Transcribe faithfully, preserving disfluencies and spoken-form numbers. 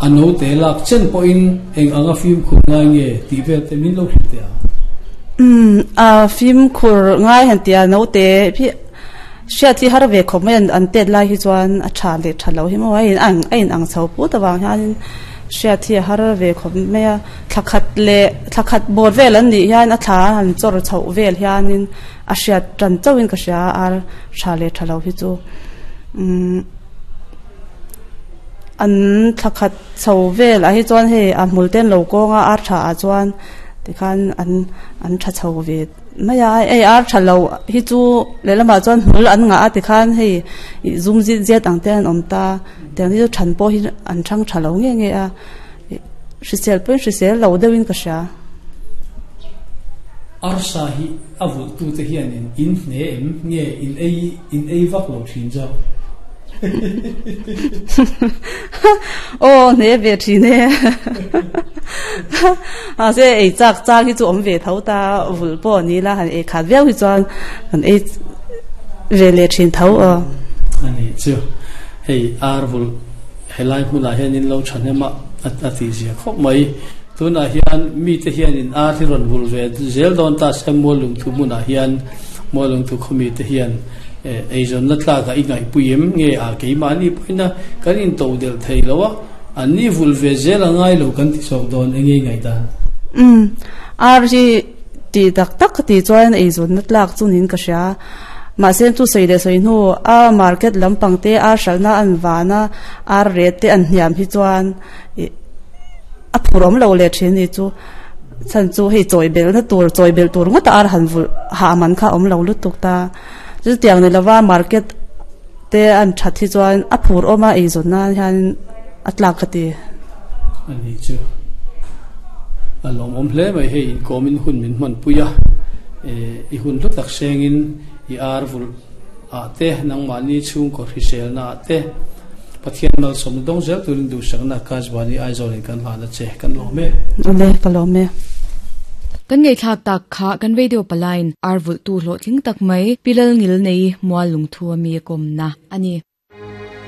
A note lak chen pawhin eng anga fimkhur ngai nge tih vel te min lo hrilh teh ang. Umm a fimkhur ngai han tia note hi hriat hi har ve khawp mai an an tet lai hi chuan a tha leh tha lo hi maw a in ang a in ang chho put avang hianin hriat hi a har ve khawp mai a. Thla khat leh thla khat bawr vel an nih hian a thla han chawr chhoh vel hianin a hriat tan chauhin ka hria a ar tha leh tha lo hi chu umm an thla khat chho vel ah hi chuan hei a hmul te an lo kawng a ar tha ah chuan tikhan an an tha chho ve mai a hei ar tha lo hi chu lehlamah chuan hmul an ngah a tikhan hei ih zum zit zet ang te an awm ta tiang hi chu than pawh hi an thang tha lo nge nge a ih hrisel pawhin hrisel lo deuhin ka hria. Arsa hi a vulhtute hianin in hne em nge in ei in ei vak lo thin zawk? Aw hne ve thin e. Mahse ei chak chak hi chu awm ve tho ta vulh pawh a ni la han ei khat viau hi chuan kan ei ve leh thin tho aw. A ni chu hei ar vulh helai hmunah hianin lo thahnem a a tihzia khawp mai. Tunah hian mite hianin ar hi rawn vulh ve zel dawn ta se Muallungthu hmunah hian Muallungthu khawmite hian eizawnna tlakah i ngaihpui em nge a keimahni pawhin a kan into delh thei lo a, anni vulh ve zel a ngai lo kan ti chawk dawn enge i ngaihdan? Umm, ar hi tih tak tak ka tih chuan eizawnna tlak chu niin ka hria. Mahse chu sawi leh sawi hnu a market lampang te ar hralhna an van a, ar ret te an hniam hi chuan ih a phur awm lo leh thin ni chu chhan chu hei chawi belhna tur chawi belh tur ngawt a ar han vulh hah man kha a awm lo lutuk ta chutiang ni lova market te an that hi chuan a phur awm a eizawn nan hian a tlak ka ti. A ni chu a lawmawm hle mai hei inkawmin hun min hmanpui a eh i hun hlu tak sengin i ar vulh ah te nangmahni chhungkaw hriselna ah te Pathian malsawmna dawng zel turin duhsakna Kajbani Aizawl in kan hlan a che. Kan lawm e. Awle, ka lawm e. Kan ngaihthlak tak kha kan radio palain ar vulhtu hlawhtling tak mai Pi Lalngilnei Mual Lungthu a mi a kawmna a ni.